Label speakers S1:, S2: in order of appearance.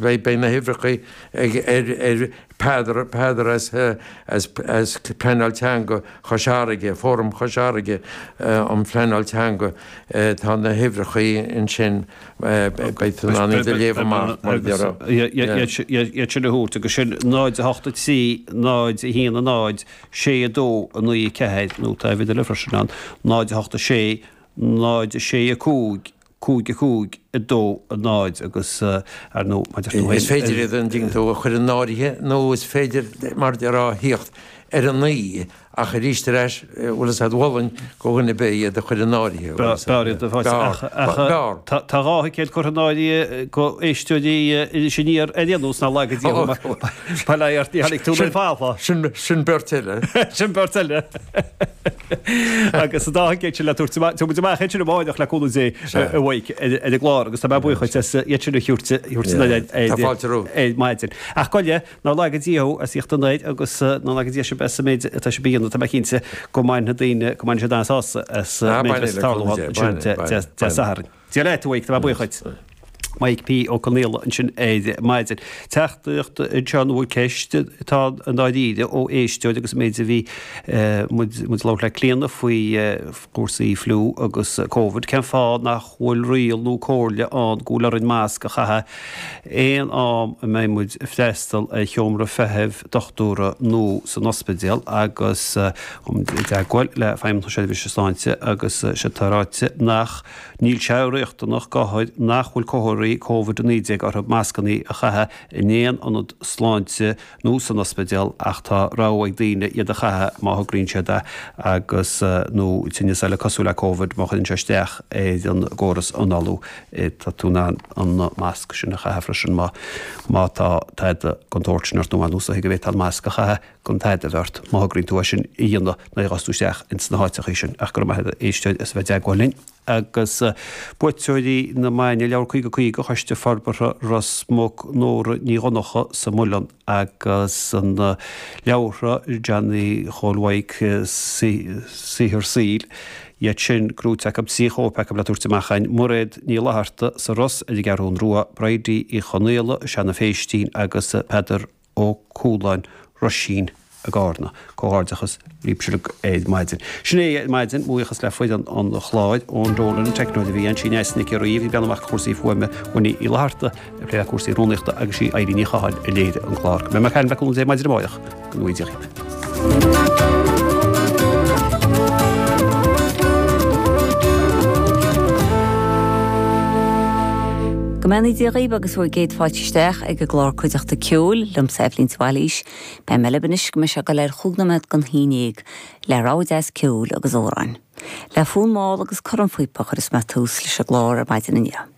S1: Beidh na huimhreacha ag ar Peadar, Peadar as as as Pleanáil Teanga Chois Fharraige, Fóram Chois Fharraige um Phleanáil Teanga, tá na huimhreacha ansin, beidh tú in ann iad a léamh amach mar a déarfá.
S2: Iad sin a thabhairt agus sin 0 8 3 0 1 0 6 2 9 4 nó tá uimhir eile freisin ann 0 8 6 0 6 5 5 5 2 0 agus ar ndóigh maidir tú féin.
S1: Is féidir iad an dtuigeann tú a chur in áirithe nó is féidir mar a déarfá a thíocht ar a naoi ach arís ar ais bhfuil fhios a'd mholfainn go dhuine ar bith iad a chur in áirithe.
S2: B'fhearr iad a fáil ach tá 2 thicéad curtha in áirithe go éisteoirí Iris Aniar ar aon nós nár laga Dia thú mar bail ó Dhia ort ní tháinig tú ar fad.
S1: Sin beirt eile.
S2: Sin beirt eile. Agus an dá thicéad sin le tabhairt amach, tabharfaidh muid amach iad sin amárach le cúnamh Dé a Mhaidhc ar an gclár agus tá mé buíoch dhuit as iad sin a thabhairt
S1: Tá fáilte romhat.
S2: ar maidin. Ach gabh i leith, nár laga Dia thú as ucht an air agus nár laga Dia sibh as an méid atá sibh a dhéanamh, tá mé cinnte go mbainfidh daoine, go mbainfidh siad an-sásamh as an méid a bheas ag tarlú ansin Dé Sathairn. Dia leat, a Mhaidhc, tá mé buíoch dhuit. Maidhc P. Ó Conghaile ansin ar maidin. Teachtaireacht anseo nó ceist atá i ndáiríre ó éisteoir agus an méid a bhí muid ag labhairt le Clíona faoi chúrsaí fliú agus Covid. Cén fáth nach bhfuil riail nó comhairle ann go bhfuil orainn masc a chaitheamh aon am a mbeidh muid ag freastal ar sheomra feithimh dochtúra nó san ospidéal agus i dteagmháil le Feidhmeannacht na Seirbhíse Sláinte agus sé atá ráite nach Níl sé riachtanach d'othair nach bhfuil comharthaí Covid-19 orthu mascanna a chaitheamh in aon ionad sláinte nó san ospidéal ach tá rogha ag daoine iad a chaitheamh má thograíonn siad é agus, nó tinneas eile cosúil le Covid, má chuireann sé isteach ar an gcóras análú. Tá tú in ann an masc sin a chaitheamh freisin má má tá tada den tsórt sin ort nó ar nós go bhféadfá an masc a chaitheamh gan tada a bheith ort má thograíonn tú é sin a dhéanamh nuair a ghabhfas tú isteach ins na háiteachaí sin. Ach go raibh maith agat a éisteoir as a bheith i dteagmháil linn. Agus buaiteoirí na maidne, Leabhar 50 50, Choiste Forbartha Ros Muc, Nóra Ní Dhonncha sa Muileann agus an leabhartha Johnny Chóil Mhaidhc, Saothar Saoil, iad sin gnóite acu, 3 chóip acu le tabhairt amach againn, Mairéad Ní Fhlatharta sa Ros ar an gCeathrún Rua, Bridie Uí Chonaola, Seanadh Phéistín agus Peadar Ó Cualáin, Roisín i gCarna. Comhghairdeachas libhse uilig ar maidin. Sin é ar maidin, mo bhuíochas le foireann an chláir, Eoin Dolan an teicneoir a bhí ann, sí Neasa Nic Fhearraigh a bhí ag breathnú amach do chúrsaí fuaime, Winnie Uí Fhlatharta ag plé le cúrsaí rúnaíochta agus sí Eilín Ní Chatháin a léirigh an clár. Go mbeidh mé ag caint le cúnamh Dé maidin amárach. Go ngnóthaí Dia dhaoibh.
S3: Go mbeannaí Dia dhaoibh agus bhur gcéad fáilte isteach ag an gclár Cuideachta Ceoil, liomsa Eibhlín de Bhailís. Beidh mé libh anois go mbeidh sé ag dul ar chúig nóiméad don haon dhéag, le rogha deas ceoil agus amhráin. Le fonn mall agus cornphíopa a chuirfeas mé tús leis an gclár ar maidin inniu.